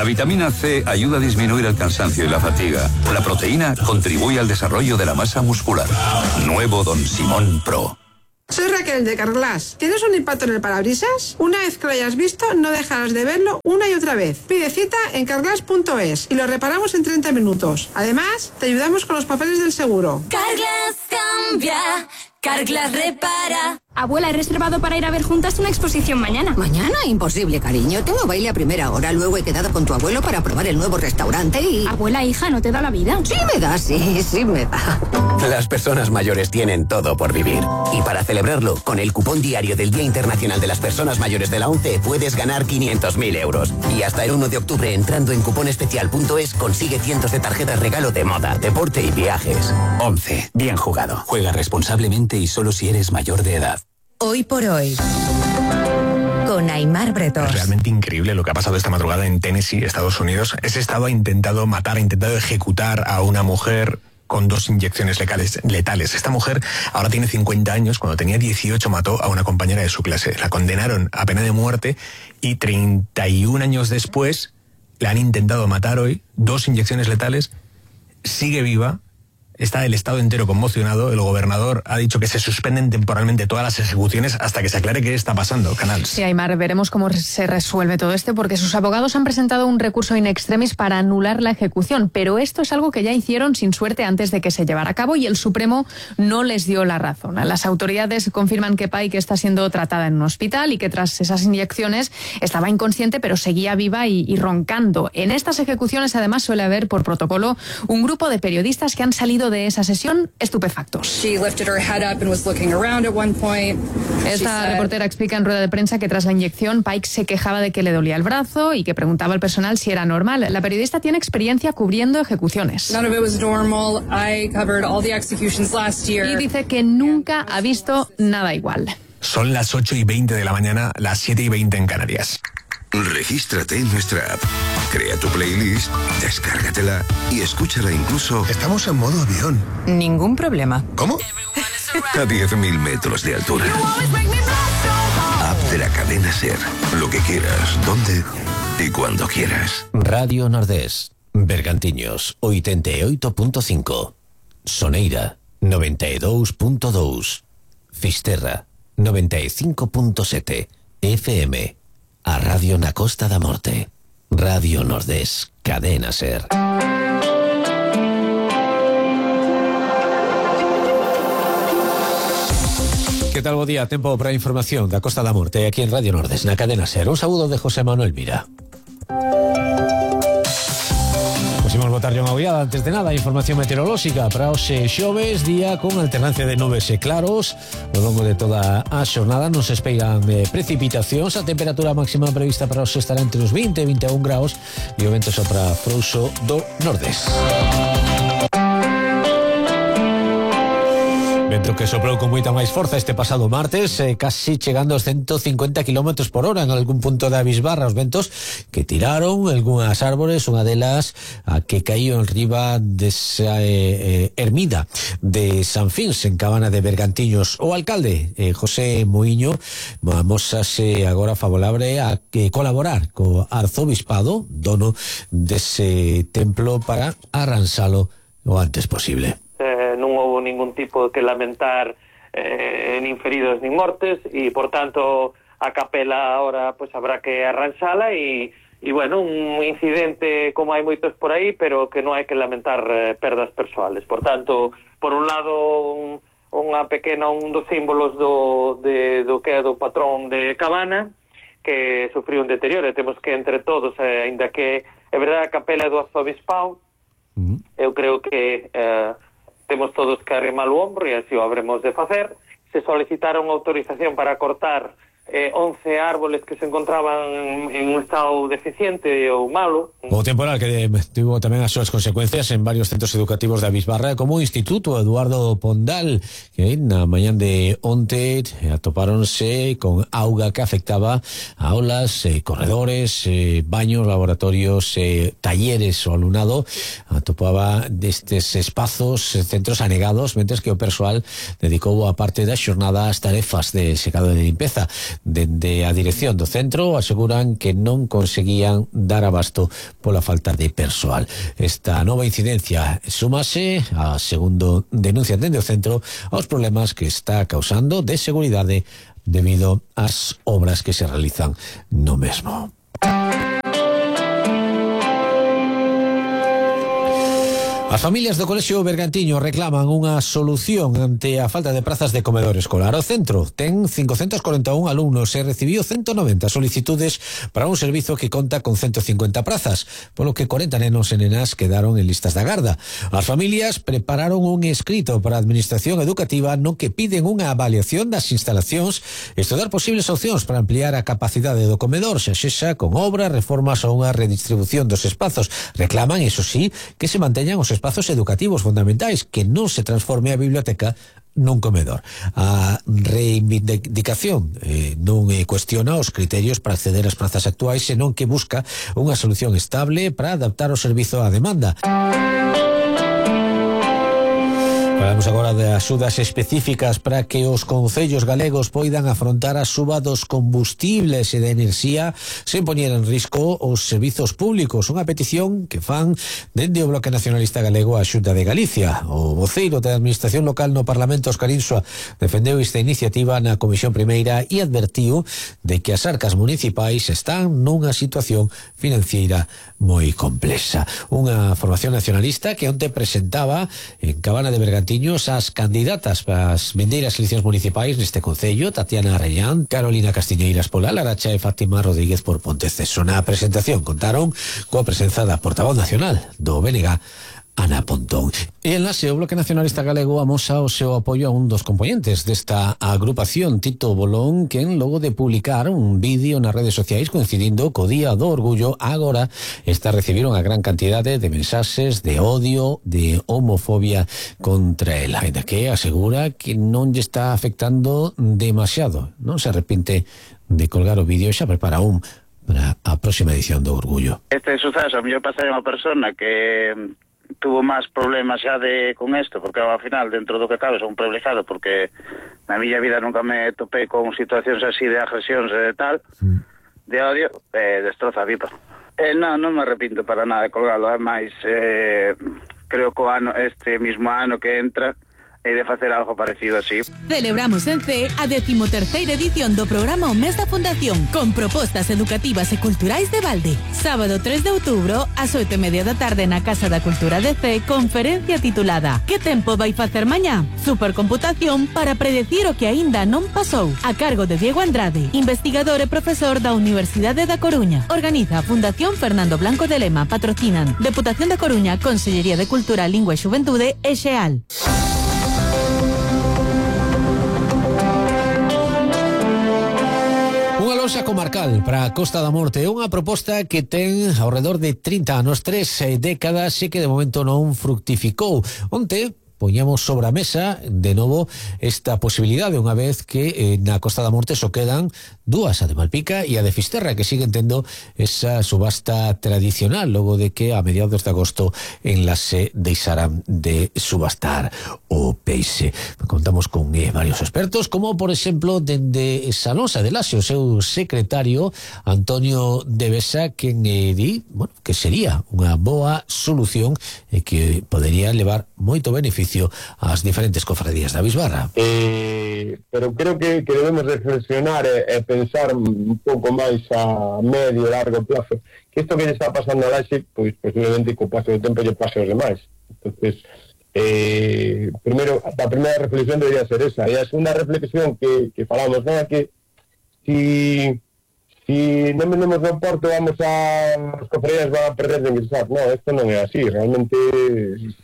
vitamina C ayuda a disminuir el cansancio y la fatiga. La proteína contribuye al desarrollo de la masa muscular. Nuevo Don Simón Pro. Soy Raquel de Carglass. ¿Tienes un impacto en el parabrisas? Una vez que lo hayas visto, no dejarás de verlo una y otra vez. Pide cita en carglass.es y lo reparamos en 30 minutos. Además, te ayudamos con los papeles del seguro. Carglass cambia, Carglass repara. Abuela, he reservado para ir a ver juntas una exposición mañana. ¿Mañana? Imposible, cariño. Tengo baile a primera hora. Luego he quedado con tu abuelo para probar el nuevo restaurante y... Abuela, hija, ¿no te da la vida? Sí me da, sí me da. Las personas mayores tienen todo por vivir. Y para celebrarlo, con el cupón diario del Día Internacional de las Personas Mayores de la ONCE, puedes ganar 500.000 euros. Y hasta el 1 de octubre, entrando en cuponespecial.es, consigue cientos de tarjetas regalo de moda, deporte y viajes. ONCE. Bien jugado. Juega responsablemente y solo si eres mayor de edad. Hoy por hoy, con Aimar Bretos. Es realmente increíble lo que ha pasado esta madrugada en Tennessee, Estados Unidos. Ese estado ha intentado ejecutar a una mujer con 2 inyecciones letales. Esta mujer ahora tiene 50 años. Cuando tenía 18 mató a una compañera de su clase. La condenaron a pena de muerte y 31 años después la han intentado matar hoy. 2 inyecciones letales. Sigue viva. Está el estado entero conmocionado. El gobernador ha dicho que se suspenden temporalmente todas las ejecuciones hasta que se aclare qué está pasando. Canals. Sí, Aimar, veremos cómo se resuelve todo esto, porque sus abogados han presentado un recurso in extremis para anular la ejecución, pero esto es algo que ya hicieron sin suerte antes de que se llevara a cabo y el Supremo no les dio la razón. Las autoridades confirman que Pike está siendo tratada en un hospital y que tras esas inyecciones estaba inconsciente, pero seguía viva y roncando. En estas ejecuciones, además, suele haber por protocolo un grupo de periodistas que han salido de esa sesión estupefactos. Esta reportera explica en rueda de prensa que tras la inyección Pike se quejaba de que le dolía el brazo y que preguntaba al personal si era normal. La periodista tiene experiencia cubriendo ejecuciones. Y dice que nunca ha visto nada igual. Son las 8:20 de la mañana, las 7:20 en Canarias. Regístrate en nuestra app, crea tu playlist, descárgatela y escúchala incluso... Estamos en modo avión. Ningún problema. ¿Cómo? A 10.000 metros de altura. App de la cadena SER. Lo que quieras, donde y cuando quieras. Radio Nordés, Bergantiños, 88.5. Soneira, 92.2. Fisterra, 95.7. FM. A Radio na Costa da Morte. Radio Nordés, cadena SER. Que tal, bo día? Tempo para a información da Costa da Morte aquí en Radio Nordés, na cadena SER. Un saúdo de José Manuel Mira. Pusimos botarlle unha ollada antes de nada a información meteorolóxica para hoxe xoves, día con alternancia de nubes e claros. Ao longo de toda a xornada nos espeiran precipitacións. A temperatura máxima prevista para hoxe estará entre os 20 e 21 graus e o vento sopra frouxo do nordés. Vento que soprou con moita máis forza este pasado martes, casi chegando aos 150 km por hora en algún punto da bisbarra. Os ventos que tiraron algunhas árbores, unha delas a que caíu en riba desa ermida de San Fins, en Cabana de Bergantiños. O alcalde, José Muiño, amosase agora favorable a colaborar co arzobispado, dono dese templo, para arransalo o antes posible. Non houve ningún tipo que lamentar nin feridos nin mortes e, por tanto, a capela ahora pues habrá que arranxala e bueno, un incidente como hai moitos por aí, pero que non hai que lamentar perdas persoales. Por tanto, por un lado, unha pequena, un dos símbolos do que é do patrón de Cabana, que sufriu un deterioro, e temos que entre todos, ainda que é verdade a capela do arzobispado, eu creo que temos todos que arrimar o ombro e así o habremos de facer. Se solicitaron autorización para cortar 11 árboles que se encontraban en un estado deficiente ou malo. O temporal que tivo tamén as súas consecuencias en varios centros educativos da Bisbarra, como o Instituto Eduardo Pondal, que na mañán de onte atopáronse con auga que afectaba a aulas, corredores, baños, laboratorios, talleres. O alumnado atopaba destes espazos, centros anegados, mentres que o persoal dedicou a parte da xornada ás tarefas de secado de limpeza. Dende a dirección do centro aseguran que non conseguían dar abasto pola falta de persoal. Esta nova incidencia súmase, a segundo denuncia dende o centro, aos problemas que está causando de seguridade debido ás obras que se realizan no mesmo. As familias do Colexio Bergantiño reclaman unha solución ante a falta de prazas de comedor escolar. O centro ten 541 alumnos e recibiu 190 solicitudes para un servizo que conta con 150 prazas, polo que 40 nenos e nenas quedaron en listas de agarda. As familias prepararon un escrito para a Administración Educativa no que piden unha avaliación das instalacións e estudar posibles opcións para ampliar a capacidade do comedor, xa sexa con obras, reformas ou unha redistribución dos espazos. Reclaman, iso sí, que se manteñan os espazos educativos fundamentais, que non se transforme a biblioteca nun comedor. A reivindicación non cuestiona os criterios para acceder ás prazas actuais, senón que busca unha solución estable para adaptar o servizo á demanda. Falamos agora de axudas específicas para que os concellos galegos poidan afrontar a suba dos combustibles e da enerxía sen poñer en risco os servizos públicos. Unha petición que fan dende o Bloque Nacionalista Galego a Xunta de Galicia. O voceiro da Administración Local no Parlamento, Óscar Insua, defendeu esta iniciativa na Comisión Primeira e advertiu de que as arcas municipais están nunha situación financiera moi complexa. Unha formación nacionalista que onte presentaba en Cabana de Bergantiños as candidatas para as vindeiras eleccións municipais neste concello: Tatiana Arellán, Carolina Castiñeiras pola Laracha e Fátima Rodríguez por Ponteceso. Na presentación contaron coa presenza da portavoz nacional do BNG, Ana Pontón. E en Lase, o Bloque Nacionalista Galego amosa o seu apoio a un dos componentes desta agrupación, Tito Bolón, quen logo de publicar un vídeo nas redes sociais coincidindo co Día do Orgullo, agora está a recibir unha gran cantidade de mensaxes de odio, de homofobia contra el, ainda que asegura que non lle está afectando demasiado. Non se arrepinte de colgar o vídeo e xa prepara un para a próxima edición do Orgullo. Este suceso a mellor pasa a unha persona que tuvo máis problemas xa con isto, porque ao final, dentro do que cabe, son un privilegiado, porque na miña vida nunca me topei con situacións así de agresións e tal, de odio, destroza a vida. Non me arrepinto para nada de colgalo, máis creo que este mismo ano que entra e de facer algo parecido así. Celebramos en C a 13ª edición do programa O Mes da Fundación, con propostas educativas e culturais de balde. Sábado 3 de outubro, ás 8:30 da tarde na Casa da Cultura de C, conferencia titulada Que tempo vai facer mañá? Supercomputación para predecir o que aínda non pasou, a cargo de Diego Andrade, investigador e profesor da Universidade da Coruña. Organiza a Fundación Fernando Blanco de Lema, patrocinan Deputación da Coruña, Consellería de Cultura, Lingua e Xuventude e Xeal. Unha loxa comarcal para a Costa da Morte é unha proposta que ten ao redor de 30 anos, 3 décadas, e que de momento non fructificou. Onte poñamos sobre a mesa de novo esta posibilidade, unha vez que na Costa da Morte só quedan dúas, a de Malpica e a de Fisterra, que siguen tendo esa subasta tradicional logo de que a mediados de agosto en Lase deixaran de subastar o peixe. Contamos con varios expertos, como por exemplo dende Sanosa de Lase, o seu secretario Antonio de Besa, que di, que sería unha boa solución e que podería levar moito beneficio ás diferentes cofradías da Bisbarra. Pero creo que debemos reflexionar e pensar un pouco máis a medio e largo plazo, que isto que lle está pasando a Laxe, pois posiblemente co paso do tempo lle pase aos demais. Entonces, primeiro, a primeira reflexión debería ser esa, e a segunda reflexión que falamos, non é que si non vendemos no porto as cofradías van a perder de ingresar. No, isto non é así. Realmente,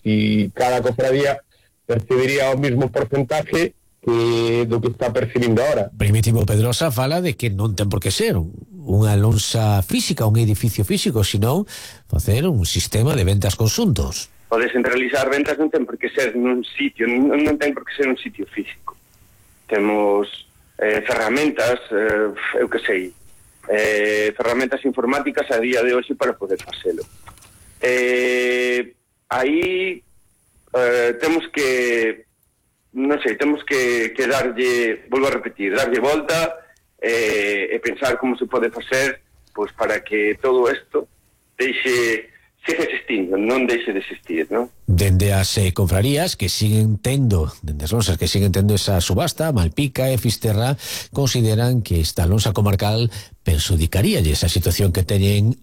si cada cofradía percibiría o mismo porcentaje que do que está percibindo ahora. Primitivo Pedrosa fala de que non ten por que ser unha lonxa física, un edificio físico, senón facer un sistema de ventas conxuntos. O descentralizar ventas non ten por que ser nun sitio, non ten por que ser un sitio físico. Temos ferramentas, eu que sei, ferramentas informáticas a día de hoxe para poder facelo. Aí temos que, non sei, temos que darlle, volvo a repetir, darlle volta e pensar como se pode facer pois para que todo isto siga existindo, non deixe de existir, non? Dende as confrarías que siguen tendo, dende as lonsas que siguen tendo esa subasta, Malpica e Fisterra consideran que esta lonsa comarcal perxudicaríalle esa situación que teñen